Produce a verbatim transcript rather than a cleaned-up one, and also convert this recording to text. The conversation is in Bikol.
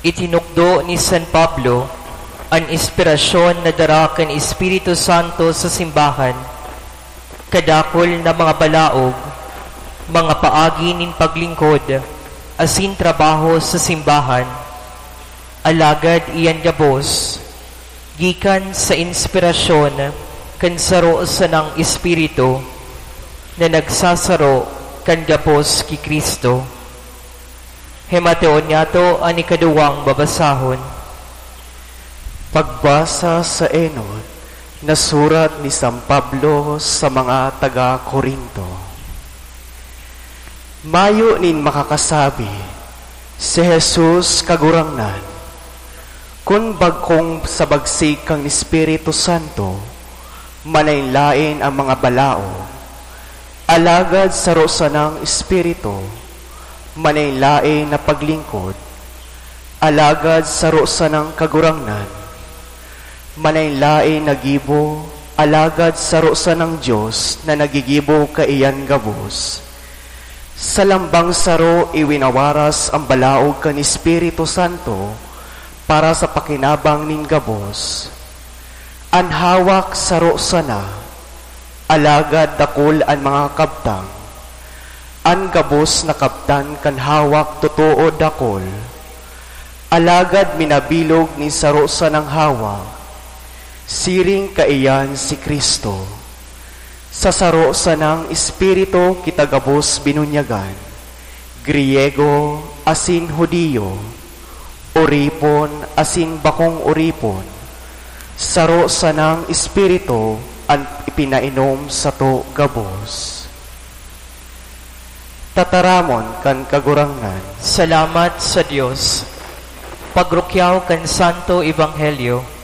Itinukdo ni San Pablo an inspirasyon na dara kan Espiritu Santo sa simbahan. Kadakul na mga balaog, mga paagi nin paglingkod asin trabaho sa simbahan, alagad iyan gabos gikan sa inspirasyon kan saro sanang Espiritu na nagsasaro kan gabos ki Cristo. Himateon niyato an ikaduwang babasahon. Pagbasa sa enot na surat ni San Pablo sa mga taga Corinto. Mayo nin makakasabi, "Si Jesus Kagurangnan," kun bagkong sa bagsig kan Espiritu Santo, manlaen-laen an mga balaog, alagad saro sanang Espiritu, manlaen-laen na paglingkod, alagad saro sanang Kagurangnan, manlaen-laen na gibo, alagad saro sanang Dios na naggigibo kaiyan gabos. Sa lambang saro iwinawaras an balaog kan Espiritu Santo para sa pakinabang nin gabos. An hawak saro sana, alagad dakul an mga kabtang. An gabos na kabtan kan hawak totoo dakul, alagad minabilog nin saro sanang hawak. Siring kaiyan si Cristo. Sa saro sanang Espiritu kita gabos binunyagan, Griego asin Judio, oripon asin bakong oripon, saro sanang Espiritu an ipinainom sato gabos. Tataramon kan Kagurangnan. Salamat sa Dios. Pagrukyaw kan Santo Ebanghelyo.